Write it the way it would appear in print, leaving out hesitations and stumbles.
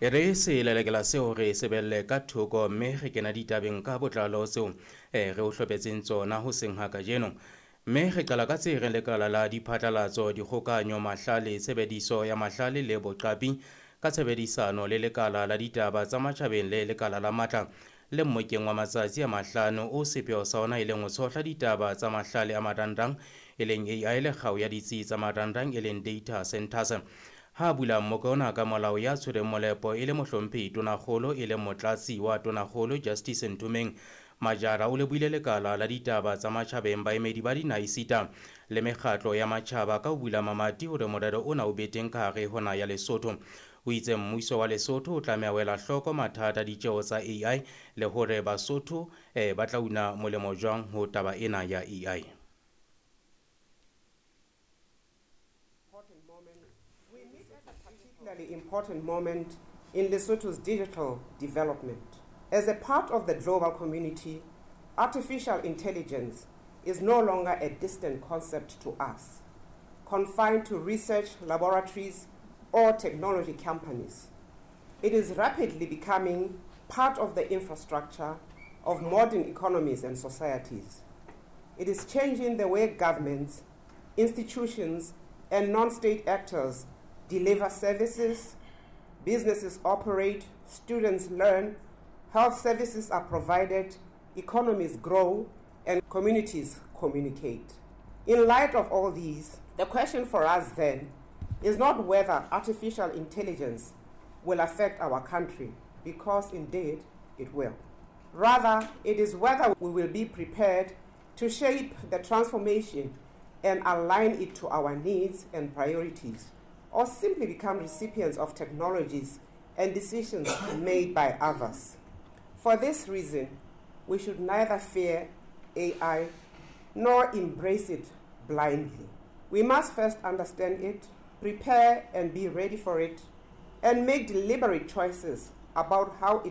E re selelekela seo re sebelle ka thoko mme re kena ditabeng ka botlalo tseo re o hlophetseng tsona ho seng ha kajeno. Mme re qala ka tse reng lekala la diphatlalatso, dikgokahanyo, mahlale, tshebediso ya mahlale le boqapi ka tshebedisano le lekala la ditaba tsa matjhabeng le lekala la matla le mmokeng wa matsatsi a mahlano o sepheo sa ona e leng ho tshohla ditaba tsa mahlale a marangrang e leng AI le kgao ya ditsi tsa marangrang e leng data centers. Ha bula mmoka ona ka molao ya tshwereng molepo e le mohlomphehi Tonakgolo e leng motlatsi wa Tonakgolo Justice Nthomeng Majara o lebohile lekala la ditaba tsa matjhabeng, baemedi ba dinaha le mekgatlo ya matjhaba ka ho bula mamati hore morero ona o be teng ka hare ho naha ya Lesotho. O itse mmuso wa Lesotho o tlameha ho ela hloko mathata ditjeo tsa AI le hore Basotho ba tla una molemo jwang ho taba ena ya AI. We meet at a particularly important moment in Lesotho's digital development. As a part of the global community, artificial intelligence is no longer a distant concept to us, confined to research laboratories or technology companies. It is rapidly becoming part of the infrastructure of modern economies and societies. It is changing the way governments, institutions, and non-state actors deliver services, businesses operate, students learn, health services are provided, economies grow, and communities communicate. In light of all these, the question for us then is not whether artificial intelligence will affect our country, because indeed it will. Rather, it is whether we will be prepared to shape the transformation and align it to our needs and priorities, or simply become recipients of technologies and decisions made by others. For this reason, we should neither fear AI nor embrace it blindly. We must first understand it, prepare and be ready for it, and make deliberate choices about how it